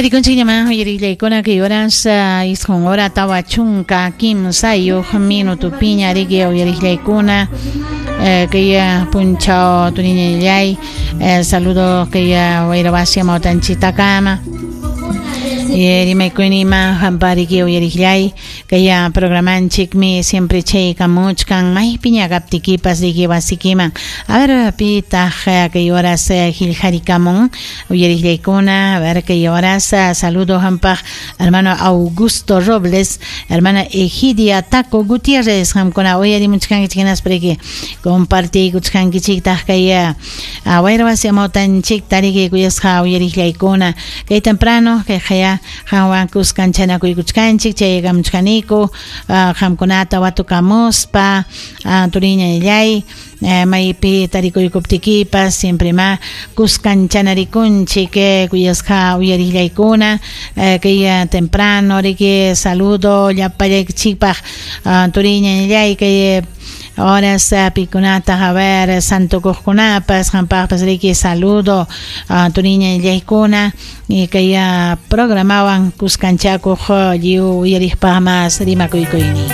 Tarikunchikñamá uyariqllaykuna kay horas 9 hora 43 minutupiña riki uyariqllaykuna kay punchaw turiñallay saludo kay wayrawasi amawtanchitakama rimaykuynima hampariki uyariqllay kay programanchikmi siempre chaykamuchkan maypiña kaptikipas riki wasikiman. A ver, pitaq kay horas qillqarikamun uyariqllaykuna. A ver, kay horas saludo hampaq hermano Augusto Robles, hermana Egidia Taco Gutiérrez, hamkuna uyarimuchkankichik hinaspa riki compartiykuchkankichiktaq kay wayrawasi amawtanchikta riki kuyasqa uyariqllaykuna. Kay temprano kay qaya qanwan kuskanchanakuykuchkanchik chaykamuchkaniku qamkunata watukamuspa turiñallay maypi tarikuykuptikipas siempre ma kuskanchanarikunchik kuyasqa uyariqllaykuna kay temprano riki saludo llapallaykichikpaq turiñallay kay horas pikunata a ver santukuqkunapas qampaqpas riki saludo turiñallaykuna kay programawan kuskanchakuq lliw uyariqpaq mas rimakuykuyni.